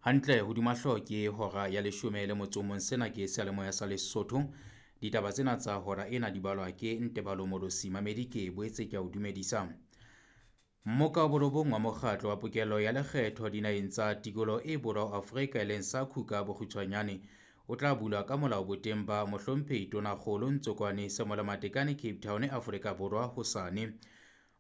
Hantle hodima hlooho ke hora ya leshome le motso o mong. Sena ke seyalemoya sa Lesotho. Ditaba tsena tsa hora ena di balwa ke Ntebalo Molosi. Mamedi ke boetse ke a o dumedisa. Mmoka wa borobong wa mokgatlo wa pokello ya lekgetho dinaheng tsa tikoloho e borwa ho Afrika e leng SACU ka bokgutshwanyane o tla bulwa ka molao boteng ba mohlomphehi Tonakgolo Ntsokwane Samuel Matekane Cape Town Afrika Borwa hosane.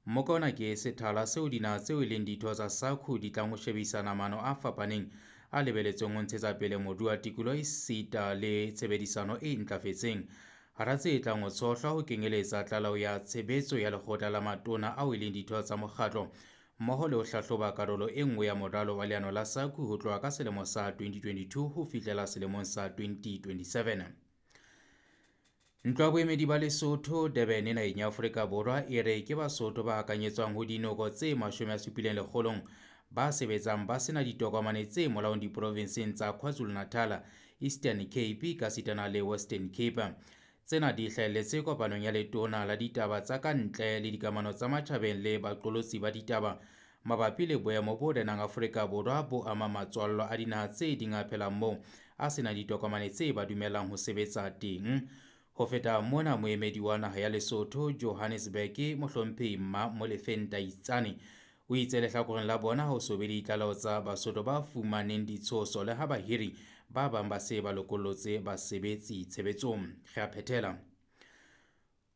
Mmoka ona ke sethala seo dinaha tseo e leng ditho tsa SACU di tlang ho shebisana maano a fapaneng a lebeletsweng ho ntshetsa pele moruo wa tikoloho esita le tshebedisano e ntlafetseng. Hara tse tlang ho tshohlwa ho kenyeletsa tlaleho ya tshebetso ya lekgotla la matona ao e leng ditho tsa mokgatlo mmoho le ho hlahloba karolo e nngwe ya moralo wa leano la SACU ho tloha ka selemo sa 2022 ho fihlela selemong sa 2027. Ntlo ya boemedi ba Lesotho Durban naheng ya Afrika Borwa e re ke Basotho ba hakanyetswang ho dinoko tse 70 ba sebetsang ba sena ditokomane tse molaong diprovinseng tsa KwaZulu-Natal, Eastern Cape ka sitana le Western Cape. Tsena di hlahelletse kopanong ya letona la ditaba tsa ka ntle le dikamano tsa matjhabeng le baqolotsi ba ditaba mabapi le boemo bo renang Afrika Borwa bo ama matswallo a dinaha tse ding a phelang moo a sena ditokomane tse ba dumellang ho sebetsa teng. Ho feta mona, moemedi wa naha ya Lesotho Johannesburg mohlomphehi Mma Molefe Ntaitsane o itse lehlakoreng la bona ho so be le ditlaleho tsa Basotho ba fumaneng ditshoso le ha bahiri ba bang ba se ba lokollotse basebetsi tshebetsong. Re a phethela.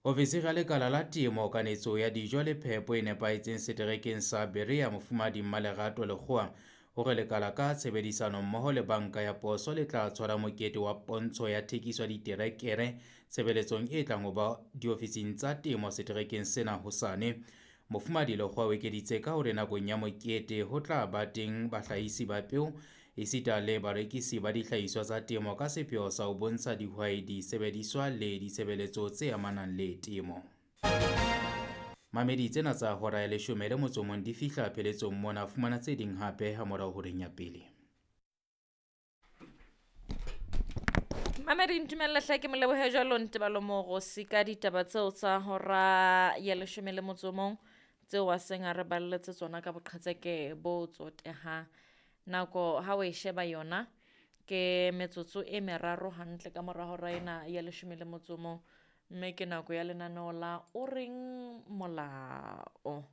Ofisiri ya lekala la temo, kanetso ya dijo le phepo e nepahetseng seterekeng sa Berea, Mofumahadi Mmalerato Lekgowa, hore lekala ka tshebedisano mmoho le banka ya poso le tla tshwara mokete wa pontsho ya thekiso ya diterekere tshebeletsong e tlang ho ba diofising tsa temo seterekeng sena hosane. Mofumahadi Lekgowa o ekeditse ka hore nakong ya mokete ho tla ba teng bahlahisi ba peo esita le barekisi ba dihlahiswa tsa temo ka sepheo sa ho bontsha dihwai disebediswa le ditshebeletso tse amanang le temo. Mamedi tsena tsa hora ya leshome le motso o mong di fihla pheletsong mona. Fumana tse ding hape ha morao horeng ya pele. Mamedi ntumelle hle ke molebohe jwalo Ntebalo Morosi ka ditaba tseo tsa hora ya leshome le motso o mong tseo a seng a re balletse tsona ka boqhetseke bo tsotehang. Nako ha o e sheba yona ke metsotso e meraro hantle ka mora hora ena ya leshome le motso o mong, mme ke nako ya lenaneo la o reng molao.